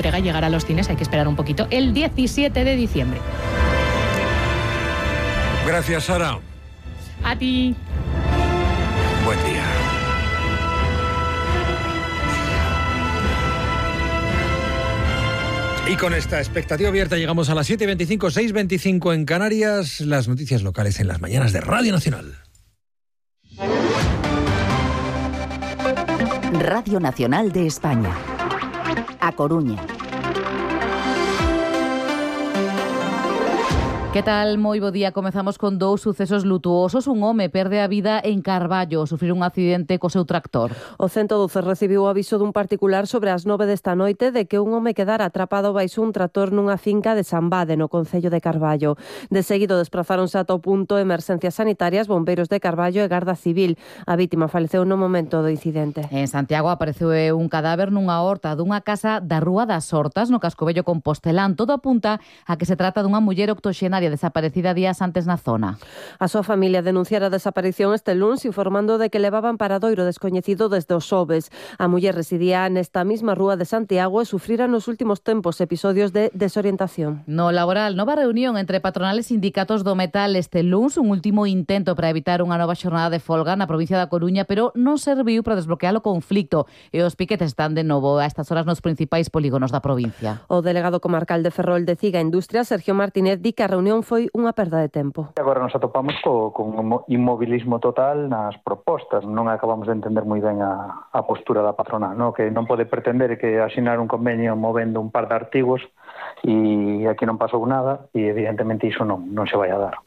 entrega llegará a los cines, hay que esperar un poquito, el 17 de diciembre. Gracias, Sara. A ti. Buen día. Y con esta expectativa abierta llegamos a las 7:25, 6:25 en Canarias. Las noticias locales en las mañanas de Radio Nacional. Radio Nacional de España. A Coruña. Que tal? Moi bo día. Comezamos con dous sucesos lutuosos. Un home perde a vida en Carballo ao sufrir un accidente co seu tractor. O 112 recibiu o aviso dun particular sobre as 9 desta noite de que un home quedara atrapado baixo un tractor nunha finca de San Bade, no concello de Carballo. De seguido desprazáronse ata o punto emerxencias sanitarias, bombeiros de Carballo e Garda Civil. A vítima faleceu no momento do incidente. En Santiago apareceu un cadáver nunha horta dunha casa da Rúa das Hortas, no casco vello compostelán. Todo apunta a que se trata dunha muller octoxenaria desaparecida días antes na zona. A súa familia denunciara a desaparición este luns, informando de que levaban paradoiro descoñecido desde os xoves. A muller residía nesta mesma rúa de Santiago e sufrira nos últimos tempos episodios de desorientación. No laboral, nova reunión entre patronales e sindicatos do metal este luns, un último intento para evitar unha nova xornada de folga na provincia da Coruña, pero non serviu para desbloquear o conflicto e os piquetes están de novo a estas horas nos principais polígonos da provincia. O delegado comarcal de Ferrol de Ciga Industria, Sergio Martínez, di que a reunión foi unha perda de tempo. Agora nos atopamos con inmobilismo total nas propostas. Non acabamos de entender moi ben a postura da patronal, no? Que non pode pretender que asinar un convenio movendo un par de artigos e aquí non pasou nada e evidentemente iso non se vai a dar.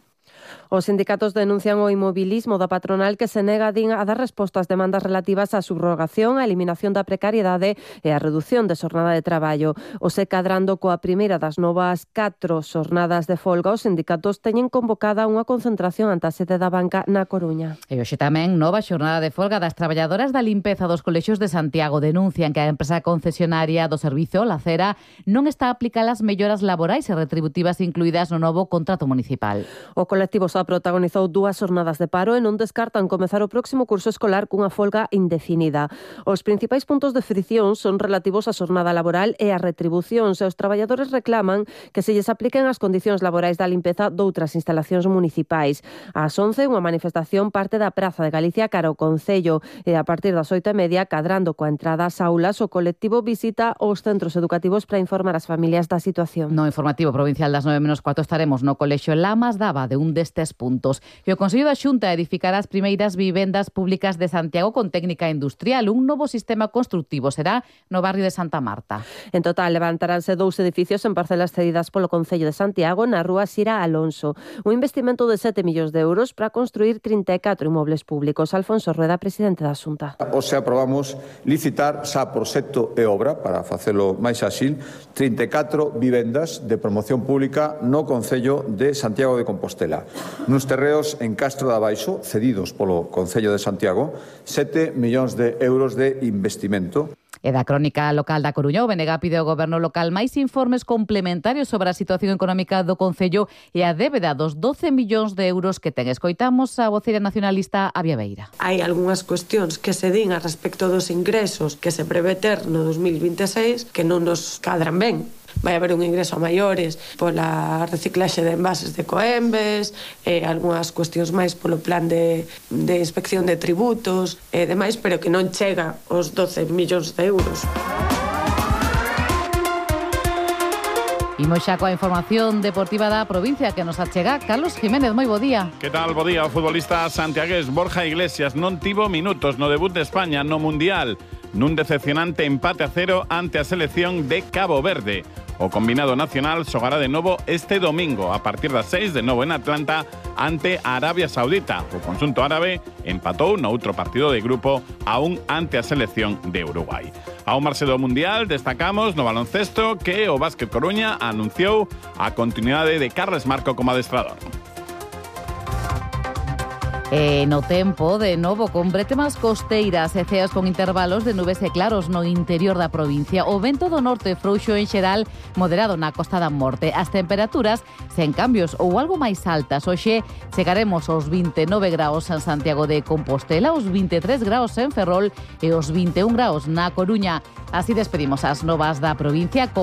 Os sindicatos denuncian o inmobilismo da patronal que se nega a dar resposta ás demandas relativas á subrogación, á eliminación da precariedade e á reducción de xornada de traballo. O se cadrando coa primeira das novas 4 xornadas de folga, os sindicatos teñen convocada unha concentración ante a sede da banca na Coruña. E hoxe tamén nova xornada de folga das traballadoras da limpeza dos colexios de Santiago. Denuncian que a empresa concesionaria do servizo, La Cera, non está a aplicar as melloras laborais e retributivas incluídas no novo contrato municipal. O colectivo protagonizou 2 xornadas de paro e non descartan comezar o próximo curso escolar cunha folga indefinida. Os principais puntos de fricción son relativos á xornada laboral e as retribucións, e os traballadores reclaman que se lles apliquen as condicións laborais da limpeza doutras instalacións municipais. Ás 11, unha manifestación parte da Praza de Galicia cara ao Concello e a partir das 8:30, cadrando coa entrada ás aulas, o colectivo visita os centros educativos para informar as familias da situación. No informativo provincial das 9:04 estaremos no Colexio Lamas Dava de un destes puntos. E o Consello da Xunta edificará as primeiras vivendas públicas de Santiago con técnica industrial. Un novo sistema constructivo será no barrio de Santa Marta. En total, levantaránse 2 edificios en parcelas cedidas polo Concello de Santiago na rúa Xira Alonso. Un investimento de 7 millóns de euros para construir 34 inmobles públicos. Alfonso Rueda, presidente da Xunta. Hoxe aprobamos licitar xa proxecto e obra para facelo máis áxil 34 vivendas de promoción pública no Concello de Santiago de Compostela. Nos terreos en Castro de Abaixo, cedidos polo Concello de Santiago, 7 millóns de euros de investimento. E da crónica local da Coruña, o BNG pide ao goberno local máis informes complementarios sobre a situación económica do Concello e a débeda dos 12 millóns de euros que ten. Escoitamos a voceira nacionalista Avia Beira. Hai algunhas cuestións que se din a respecto dos ingresos que se prevé ter no 2026 que non nos cadran ben. Vai haber un ingreso a maiores pola reciclaxe de envases de Coembes, algunhas cuestións máis polo plan de inspección de tributos e demais, pero que non chega aos 12 millóns de euros. Imos xa coa información deportiva da provincia que nos achega Carlos Jiménez. Moi bo día. Que tal? Bo día. O futbolista santiagués Borja Iglesias non tivo minutos no debut de España no Mundial, nun decepcionante empate a 0 ante a selección de Cabo Verde. O combinado nacional xogará de novo este domingo a partir das 6 de novo en Atlanta ante Arabia Saudita. O conxunto árabe empatou no outro partido de grupo aún ante a selección de Uruguai. Ao marxe do Mundial destacamos no baloncesto que o Básquet Coruña anunciou a continuidade de Carles Marco como adestrador. No tempo, de novo, con bretemas costeiras e ceas con intervalos de nubes e claros no interior da provincia. O vento do norte frouxo en xeral, moderado na Costa da Morte. As temperaturas sen cambios ou algo máis altas. Hoxe chegaremos aos 29 graus en Santiago de Compostela, aos 23 graus en Ferrol e aos 21 graus na Coruña. Así despedimos as novas da provincia con